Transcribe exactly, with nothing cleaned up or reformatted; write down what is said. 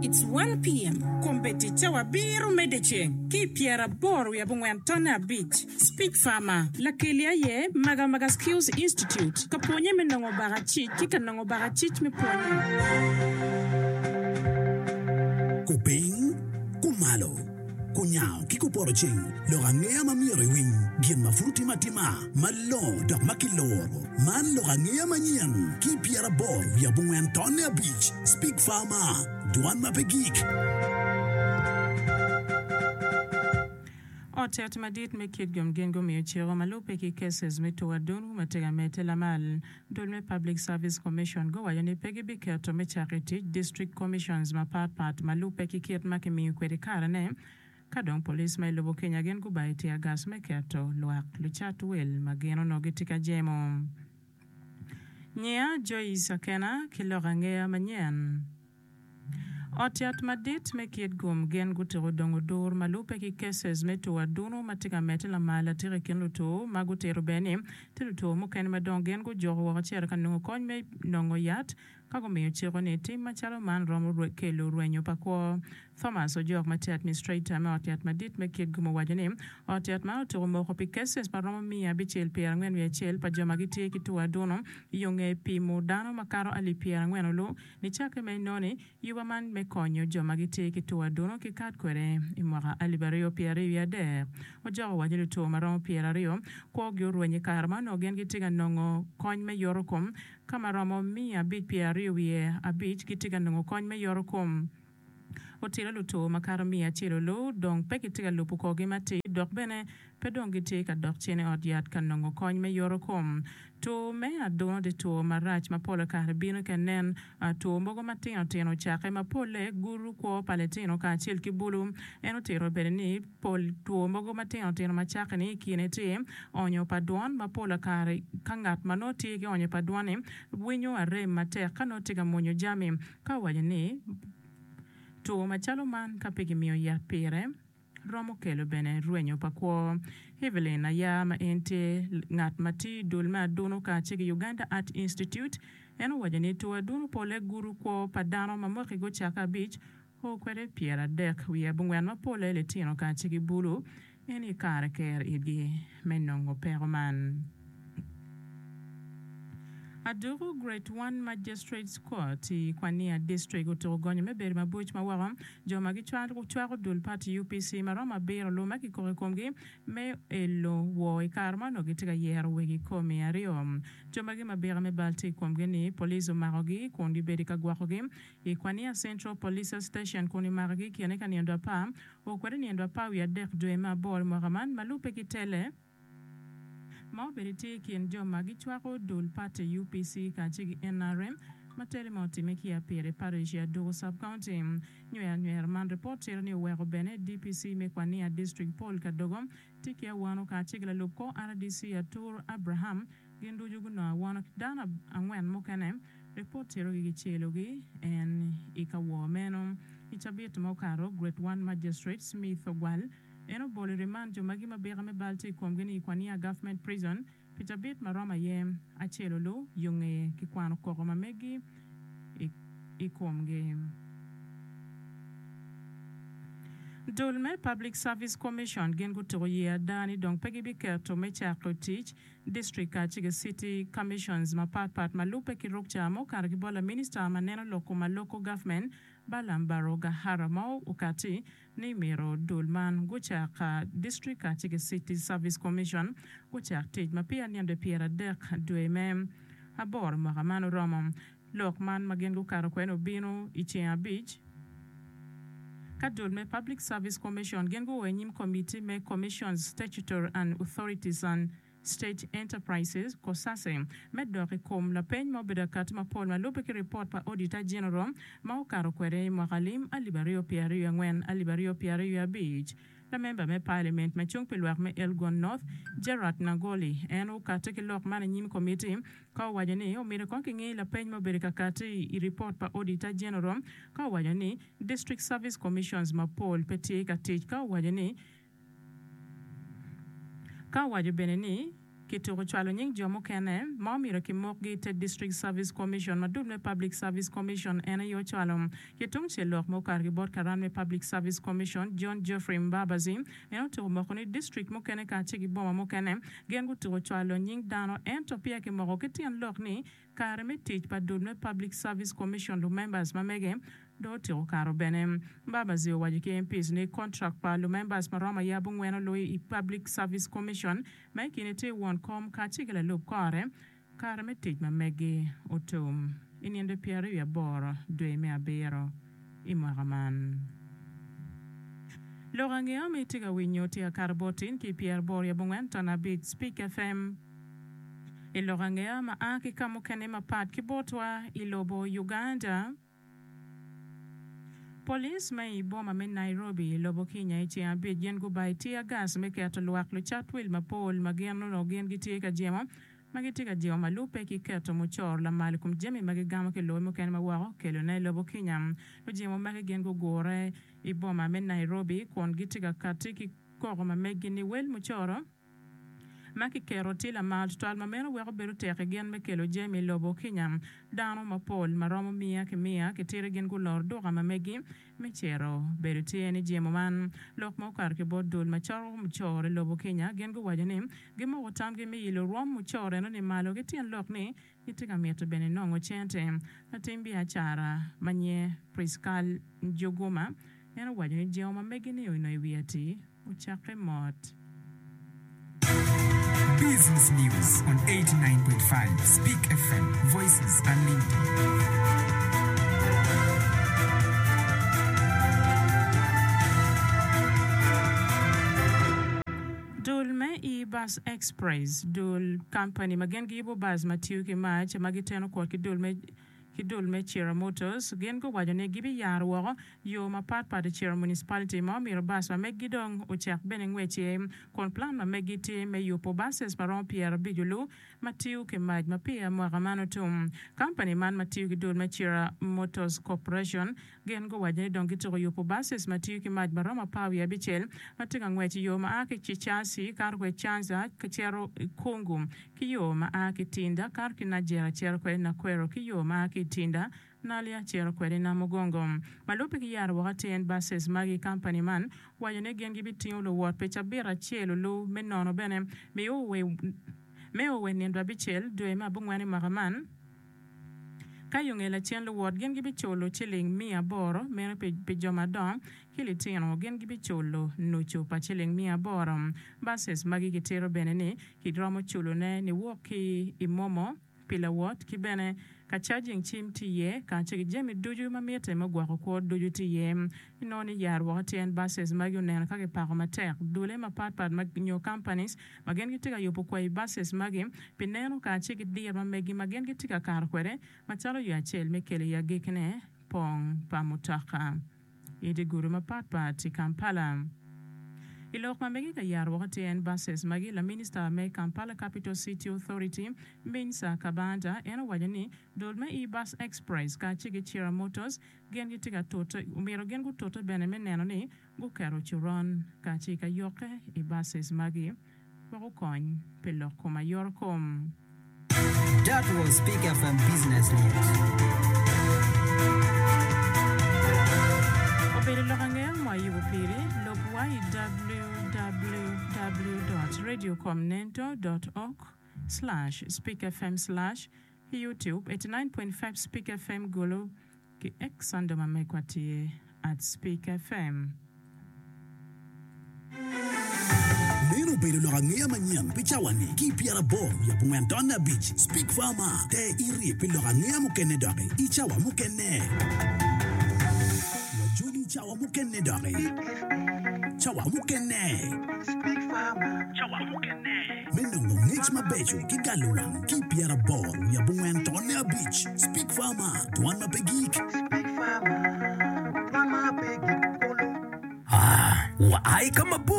It's one P M. Kombeddi cawa abiro me dyeceng ki i pyeraboro wiye abongwen tonne abic. Speak Farmer lakeli aye Magamaga Skills Institute ka pwonye me nongo bakacic ki ka nongo bakacic me pwonye. Kupiny, kumalo, kunyango ki kupoto ceng, lok angeya ma myero iwiny, gin ma pud otime atima, malongo dok ma kiloro. Man lok angeya manyen ki pyeraboro wiye abongwen tonne abic. Speak Farmer, dwan ma pe gik. Ot yat madit me Kitgum gin gumiyo ciko ma lubbe ki cases me two adunu ma tye ka medde lamal. Dul me Public Service Commission guwaco ni pe gibiketo me cako i tic District Commissions mapat pat ma lubbe ki kit ma kimiyo kwede karene. Ka dong police ma i lobo Kenya gin gubayo tear gas me keto lwak lucat wil ma gin onongo gitye ka jemo. Nyiya Joyce Akena ki lok angeya manyen. Ot yat madit me Kitgum gin gutyeko dongo dur ma lubbe ki cases me two adunu ma tye ka medde lamal atika i kin luto ma gutito bene ni tye luto mukene ma dong gin gujoko woko cito ka nongo kony me nongo yat ka gumiyo ciko ni tim macalo man romo kelo rwenyo pa kwo. Thomas Ojok ma tye administrator me ot yat madit me Kitgum owaco ni ot yat man otyeko moko pi cases ma romo miya abicel pyerangwen wiye acel pa jo ma gitye ki two adunu yo nge pimo dano makato alip pyerangwen olu nicakke me noni yuba man me konyo jo ma gitye ki two adunu ki kat kwede i mwaka alip aryo pyeraryo wiye adek. Ojok owaco ni two ma romo pyeraryo kwogi orwenyo i kare ma onongo gin gitye ka nongo kony me yoto kom ka ma romo miya abic pyeraryo wiye abic gitye ka nongo kony me yoto kom. Otilo luto makato miya acel olu dong pe gitye ka lubo korgi matir dok bene pe dong gitye ka dok cen i ot yat ka nongo kony me yoto kom. Two me aduno tye two marac ma pol kare bino ka nen two mogo matino tino ocakke ma polle gudo kwo pa litino kacel ki bulu. En otito bene ni pol two mogo matino tino ma cakke-ni i kine tye onyo pa dwon ma pol kare ka ngat ma nongo tye ki onyo pa dwon-ni winyo arem matek ka nongo tye ka mwonyo jami ka owaco ni two macalo man ka pe kimiyo yat pire romo kelo bene rwenyo pa kwo. Evelyn Aya ma en tye ngat ma tiyo i dul me aduno kacel ki Uganda Art Institute en owaco ni two aduno polle gudo kwo pa dano ma mwaki gucakke abic o kwede pyeradek wiye abongwen ma polle litino kacel ki bulu en i kare ker itgi me nongo peko man. Aduku Grade One Magistrates Court i Kwania District otuko gonyo me bedo mabuc ma woko jo ma gicwako dul party U P C ma romo abiro lu ma kikoko i komgi me elo wo i kare ma onongo gitye ka yero wegi komi aryo. Jo magi mabika me bal tye i komgi ni police omakogi kun gibedo ka gwokogi i Kwania Central Police Station kun imakogi i kine ka nindo apar o kwede nindo apar wiye adek dwe me aboro mwaka man ma lubbe ki tele ma obedo tye i kin jo ma gicwako dul party U P C kacel ki N R M ma tele ma otime ki Apire Parish i Aduku Sub-County. Nywero nywero man ripot tito ni oweko bene D P C me Kwania District Paul Kadogo tye ki awano kacel ki lalub kor R D C Atur Abraham gin ducu gunongo awano ki dano angwen mukene ripot tito gi gicelogi en i ka wor meno. I cabit ma okato Grade One Magistrate Smith Ogwal en obolo remand jo magi mabika me bal tye i komgi ni i Kwania Government Prison pi cabit ma romo aye acel olu yo ngeye ki kwano koko ma megi i komgi. Dul me Public Service Commission gin gutuko ye ada ni dong pe gibiketo me cako tic district kacel ki city commissions mapat pat ma lubbe ki rukca ma okato ki bot la minista ma neno lok kom ma local government Balaam Barugahara ma okati ni myero dul man gucak district kacel ki city service commission gucak tic ma peya nindo pyeradek dwe me aboro mwaka man oromo. Lok man ma gin gukato kwede obino i ceng abic ka dul me Public Service Commission gin guo i nyim committee me Commissions Statutory and Authorities and State Enterprises COSASE me dok i kom lapeny ma obedo akati mapol ma lubbe ki ripot pa Auditor General ma okato kwede i mwaka lim alip aryo pyeraryo angwen alip aryo pyeraryo abic. Lamemba me Parliament ma cung pi lwak me Elgon North Gerard Nagoli en okate ki lok man i nyim komiti ka owaco ni omyero kong kingi lapeny ma obedo kakati i ripot pa Auditor General ka owaco ni District Service Commissions mapol pe tye ka tic ka owaco ni ka owaco bene ni Kituko cwalo nying jo mukene ma omyero kimokgi i te District Service Commission ma dul me Public Service Commission en aye ocwalo. Ki tungcel lok ma okato ki bot karan me Public Service Commission, John Geoffrey Mbabazi, en otuko moko ni district mukene kacel ki boma mukene gin gutuko cwalo nying dano ento peya kimoko ki tyen lok ni kare me tic pa dul me Public Service Commission lumembers ma mege dong otyeko kato bene. Mbabazi owaco ki M Ps ni kontrak pa lumembers ma romo aye abongwen oluyi i Public Service Commission ma i kine tye won kom kacel ki lalub kore kare me tic ma megi otum i nindo pyeraryo aboro dwe me abiro i mwaka man. Lok angeya ma itye ka winyo tye akato bot in ki pyeraboro wiye abongwen ton abic Speak F M. I lok angeya ma a ki ka mukene mapat ki botwa i lobo Uganda, Police ma i boma me Nairobi i lobo Kenya i ceng abic gin gubayo tear gas me keto lwak lucat wil mapol ma gin onongo gin gitye ka jemo ma gitye ka jemo ma lubbe ki keto mucoro lamal i kom jami ma gigamo ki lobe mukene ma woko kelone i lobo Kenya. Lujemo magi gin gugure i boma me Nairobi kun gitye ka kati ki koko ma meggi ni wel mucoro ma kiketo tye lamal tutwal ma meno weko bedo tek i gin me kelo jami i lobo Kenya. Dano mapol ma romo miya ki miya kitito gin guloro duka ma megi me cito bedo tye ni jemo man. Lok ma okato ki bot dul ma coko mucoro i lobo Kenya gin guwaco ni gimoko tamgi me yilo rwom mucoro eno ni malo ki tyen lok ni gitye ka mito bene nongo cente. Latim biacara ma nyinge Priscal Njuguma en owaco ni jemo ma megi ni onongo i wi ati ocakke mot. Business News on eighty-nine point five Speak F M, Voices Unlimited. Dul me E-Bus Express, dul company ma gin giyubo bus ma tiyo ki mac ma giteno kwot ki dul me ki dul me Kiira Motors gin guwaco ni gibiyaro woko yo mapatpat i Kiira Municipality ma omyero bus ma meggi dong ocak bene ngwec iye kun plan ma meggi tye me yubo buses ma romo pyerabic olu ma tiyo ki mac ma peya mwaka man otum. Company man ma tiyo ki dul me Kiira Motors Corporation gin guwaco ni dong gituko yubo buses ma tiyo ki mac ma romo apar wiye abicel ma tye ka ngwec i yo ma a ki Chichasi kato kwede Chanza cito Kungu ki yo ma a ki Tinda kato ki Najjera cito kwede Nakwero ki yo ma a ki Tinda Naalya cito kwede Namugongo. Ma lubbe ki yaro woko atir buses magi company man waco ni gin gibitingo luwot pi cabit acel olu me nono bene me owe nindo abicel dwe me abongwen i mwaka man ka yo nge lacen luwot gin gibiculo ciling miya aboro meno pi jo madongo ki litino gin gibiculo nucu pa ciling miya aboro. Buses magi gitito bene ni kiromo culone niwok ki i MoMo pi lawot ki bene ka charging cim tye iye kacel ki jami ducu ma mitte me gwoko kwo ducu tye iye. Inongo ni yaro woko tyen buses magi oneno ka kipako matek dule mapatpat nyo companies ma gin gitye ka yubo kwayi buses magi pi neno kacel ki diro ma megi ma gin gitye ka kato kwede macalo yo acel me kelo i agikine pong pa mutoka i dye gudo mapatpat i Kampala. I lok ma mege ka yaro woko tyen buses magi laminista me Kampala Capital City Authority Minsa Kabanda en owaco ni dul me E-Bus Express kacel ki Kiira Motors gin gitye ka tute omyero gin gutute bene me neno ni guketo coron kacel ka yokke i buses magi wek okony pi lok kom ayot kom. That was Speak F M Business News. Obedo lok angeya ma ayubo piri lubwa i w w w dot radiocomnento dot org slash speakfm slash YouTube eighty-nine point five Speak F M Gulu ki X handle ma megwa tye at Speak F M. Meno obedo lok angeya manyen pi cawa-ni ki pyeraboro wiye abongwen ton abic Speak Farmer te iri pi lok angeya mukene doki i cawa mukene. Wajoli cawa mukene doki. Cawa mukene. Me nongo ngec mabeco ki galo wang ki pyeraboro wiye abongwen ton abic Speak Farmer dwan ma pe gik. Ah, wa ai ka mabor.